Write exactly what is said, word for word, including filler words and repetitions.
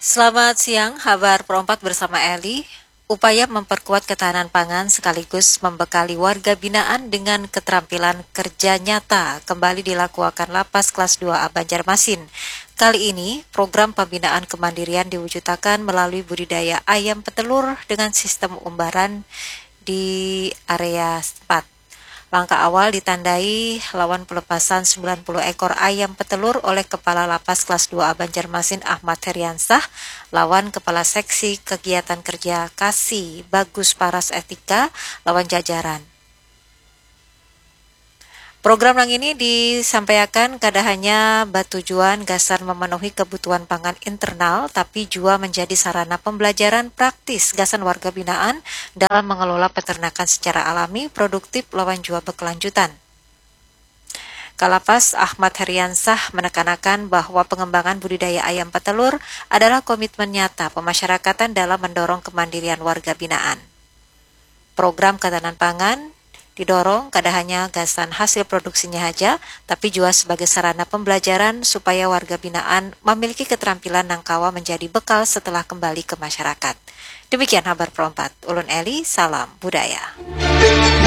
Selamat siang, Habar Perompat bersama Eli. Upaya memperkuat ketahanan pangan sekaligus membekali warga binaan dengan keterampilan kerja nyata kembali dilakuakan Lapas Kelas dua A Banjarmasin. Kali ini, program pembinaan kemandirian diwujudakan melalui budidaya ayam petelur dengan sistem umbaran di area setempat. Langkah awal ditandai lawan pelepasan sembilan puluh ekor ayam petelur oleh Kepala Lapas Kelas dua A Banjarmasin Ahmad Heriansah lawan Kepala Seksi Kegiatan Kerja Kasi Bagus Paras Etika lawan jajaran. Program nang ini disampaiakan kada hanya batujuan gasan memenuhi kebutuhan pangan internal, tapi jua menjadi sarana pembelajaran praktis gasan warga binaan dalam mengelola peternakan secara alami, produktif, lawan jua berkelanjutan. Kalapas Ahmad Heriansah menekanakan bahwa pengembangan budidaya ayam petelur adalah komitmen nyata pemasyarakatan dalam mendorong kemandirian warga binaan. Program ketahanan pangan didorong kada hanya gasan hasil produksinya haja, tapi jua sebagai sarana pembelajaran supaya warga binaan mamiliki keterampilan nang kawa menjadi bekal setelah kembali ke masyarakat. Demikian Habar Perompat. Ulun Eli, salam budaya.